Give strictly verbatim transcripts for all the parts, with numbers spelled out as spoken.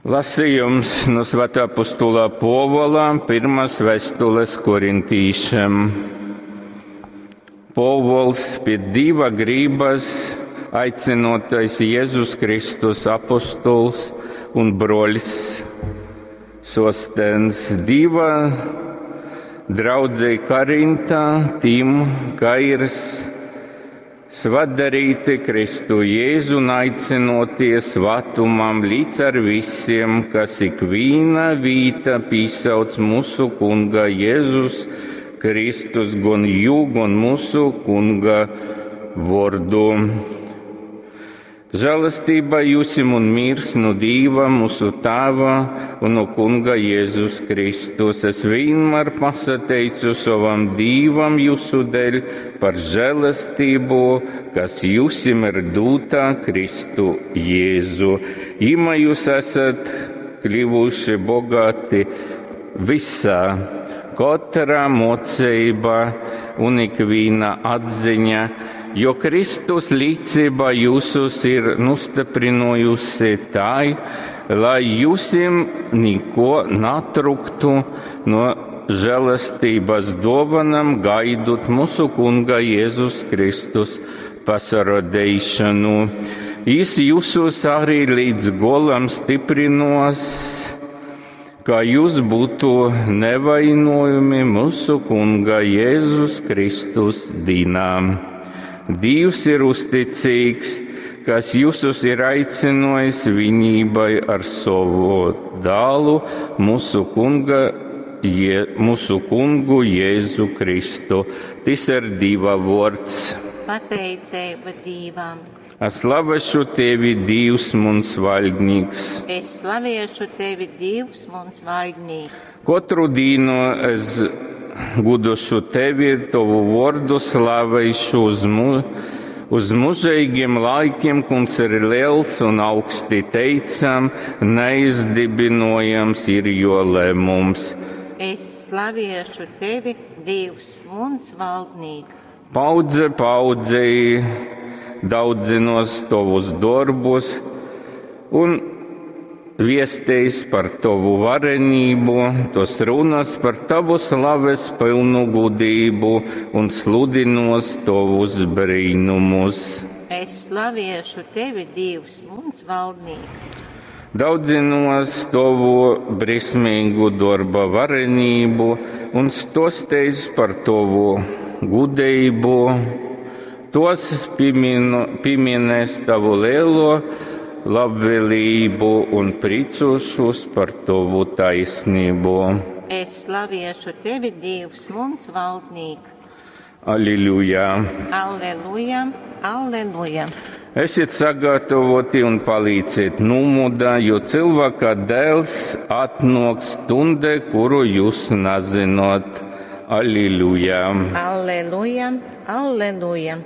Lasījums no Svētā apostula Pōvula pirmās vēstules korintīšiem. Pōvuls pie Dieva gribas aicinotais Jēzus Kristus apostols un broļs Sostens Dieva draudzei Korintā tim, ka ir svadarīti Kristu Jēzu un aicinoties svatumam līdz ar visiem, kas ikvīna vīta pīsauc mūsu Kunga Jēzus Kristus, gon jū, gon mūsu Kunga vordu. Žēlastība jūsim un mirs no Dīva, mūsu Tēva un no Kunga Jēzus Kristus. Es vienmēr pasateicu savam Dīvam jūsu dēļ par žēlastību, kas jūsim ir dūta Kristu Jēzu. Ima jūs esat kļuvuši bogāti visā, katrā mocībā un ikviena atziņa, jo Kristus līdzība jūsus ir nostiprinājusi tai, lai jūsim neko natruktu no žēlastības dovanam gaidot mūsu Kunga Jēzus Kristus pasarodēšanu. Jis jūsus arī līdz golam stiprinos, kā jūs būtu nevainojumi mūsu Kunga Jēzus Kristus dīnām. Dievs ir uzticīgs, kas jūsus ir aicinājis vienībai ar savu dālu, mūsu kunga, Je, mūsu kungu Jēzu Kristu. Tas ir Dieva vārds. Pateicība Dievam. Es slavēšu tevi, Dievs, muns valdnieks. Es slaviešu tevi, Dievs, muns valdnieks. Katru dienu es gudošu tevi, tavu vārdu slavēšu uz, mu, uz mūžīgiem laikiem, kungs ir liels un augsti teicam, neizdibinojams ir jo lēmums. Es slaviešu tevi, Dievs, muns valdnieks. Paudze paudzei daudzinos tavus darbus un viestīs par tavu varenību, tos runas par tavu slaves pilnu gudību un sludinos tavus brīnumus. Es slaviešu tevi, Dievs, muns valdnieks. Daudzinos tavu brismīgu darba varenību un stostīs par tavu gudību. Tos pieminu, pieminēs tavu lielo labvēlību un priecāšos par tavu taisnību. Es slaviešu tevi, Dievs, muns valdnieks. Alleluja! Alleluja, alleluja. Esiet sagatavoti un palīdziet numudā, jo cilvēka dēls atnāks stundē, kuru jūs nezinot. Alleluja! Alleluja, alleluja.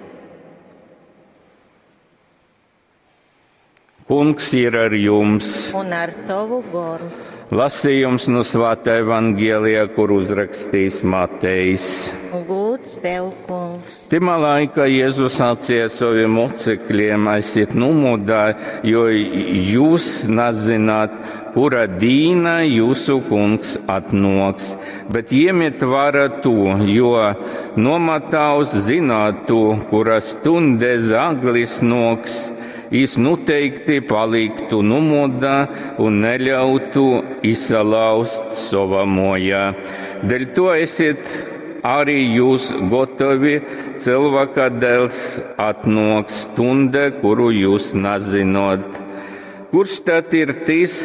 Kungs ir ar jums! Un ar tavu goru. Lasījums no Svētā Evangelija, kur uzrakstījis Matejs. Gūts tev, kungs. Timā laikā Jēzus sacīja saviem mocekļiem, aiziet numudā, jo jūs nezināt, kura dīna jūsu kungs atnoks. Bet iemiet vara to, jo nomataus zinātu, kura stundē zaglis noks. Jis noteikti paliktu numodā un neļautu izsalauzt savā mojā. Dēļ to esiet arī jūs gatavi, cilvēka dēls atnāks stundē, kuru jūs nezinot. Kurš tad ir tas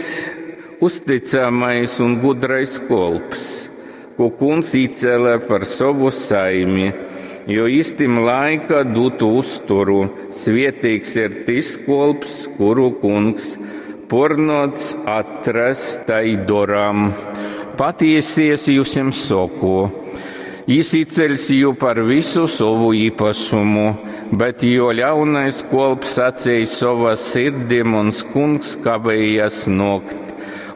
uzticamais un gudrais kolps, ko kungs izcēla par savu saimi? Jo īstim laika dotu uzturu, svietīgs ir tas kolps, kuru kungs pornots atrast tai doram. Patiesi es jūsim saku, jis izceļs jū par visu savu īpašumu, bet jo ļaunais kolps sacīja savā sirdī, muns kungs kavējas nokt,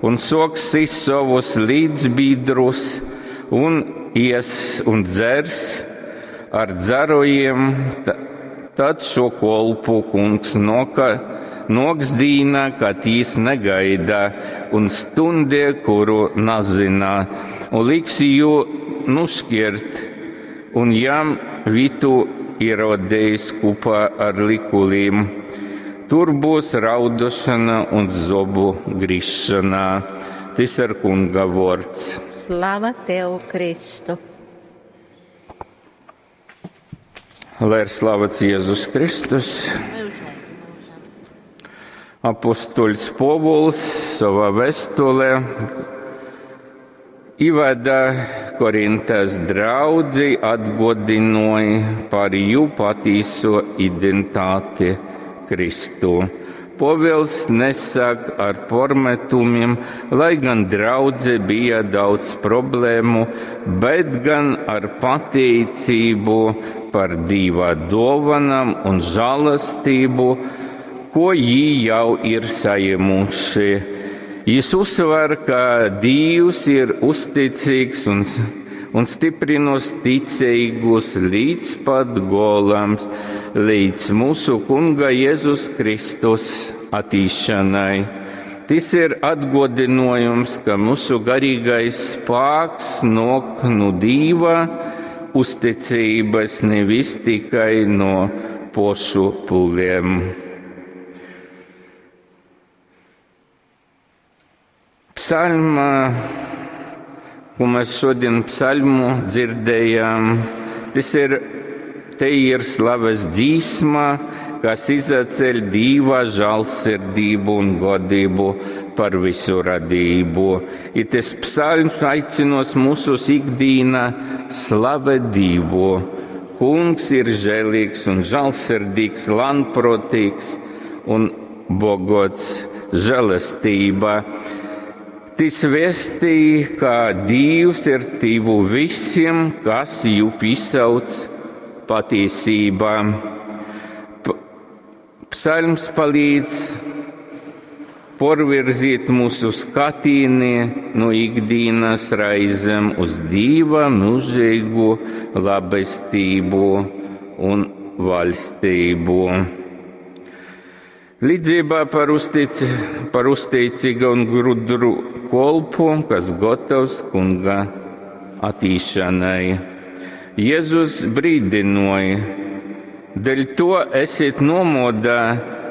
un soks sist savus līdzbiedrus, un ies un dzers ar dzerojiem, tad šo kolpu kungs noka, Noks dīna, kad jis negaida, un stundē, kuru nazina, un liks jū nuškirt, un jam vitu ierodējis kopā ar likulīm. Tur būs raudošana un zobu grišana. Tas ir Kunga vārds. Slava tev, Kristu! Lai ir slavēts Jēzus Kristus. Mūžīgi mūžam. Apostoļs Povuls savā vēstulē ievada Korintas draudzi atgodināja par jū patīso identitāti Kristu. Povils nesāk ar pormetumiem, lai gan draudze bija daudz problēmu, bet gan ar pateicību par Dieva dāvanām un žēlastību, ko jī jau ir saņēmuši. Jis uzsver, ka Dievs ir uzticīgs un, un stiprinos ticīgus līdz pat golam, līdz mūsu Kunga Jēzus Kristus attīšanai. Tas ir atgodinājums, ka mūsu garīgais spēks nāk no Dieva uzticības, nevis tikai no pošu pūliem. Psalma, ko mēs šodien psalmu dzirdējām, tas ir, te ir slaves dzīsma, kas izaceļ Dieva žēlsirdību un godību par visu radību. I tas psalms aicinos mūsu ikdīna slavēt Dievu. Kungs ir žēlīgs un žēlsirdīgs, lanprotīgs un bogots žēlastība. Tas vēstīja, ka Dievs ir tuvu visiem, kas jū piesauc patiesībā. P Psalms palīdz porvirzīt mūsu skatīni no ikdienas raizēm uz Dieva mūžīgu labestību un valstību. Līdzībā par, uztic, par uzticīgu un gudru kolpu, kas gatavs kunga attīšanai. Jēzus brīdināja, dēļ to esiet nomodā,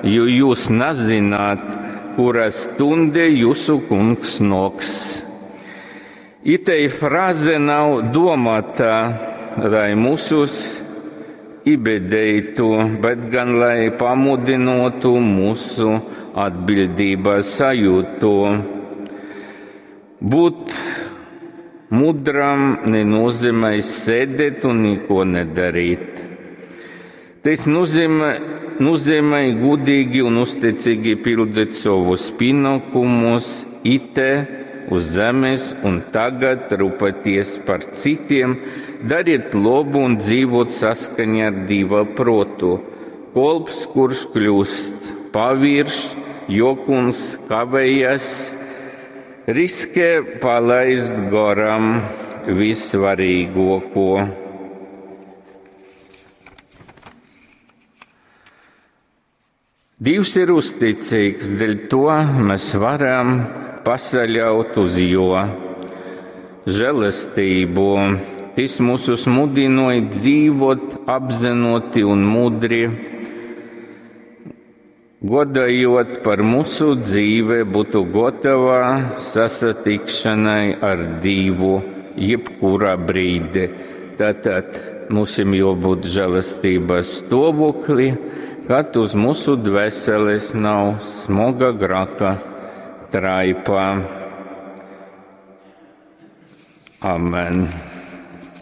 jo jūs nezināt, kura stunde jūsu kungs noks. Itei fraze nav domāta, lai mūsus ibedeitu, bet gan lai pamudinotu mūsu atbildības sajūtu. Būt mudram nenozīmē sēdēt un neko nedarīt. Tas nozīmē, nozīmē gudīgi un uzticīgi pildīt savus pienākumus ite uz zemes un tagad rūpēties par citiem, dariet labu un dzīvot saskaņā ar Dieva protu. Kolps, kurš kļūst paviršs, jokuns kavējas, riskē palaist garām vissvarīgāko. Dievs ir uzticīgs, dēļ to mēs varam pasaļaut uz jo žēlastību. Tas mūsus mudināja dzīvot apzinoti un mudri, godājot par mūsu dzīve būtu gatava sasatikšanai ar Dievu jebkurā brīdī. Tātad mums jābūt žēlastības stāvoklī, kad uz mūsu dvēseles nav smaga graka traipa. Amen.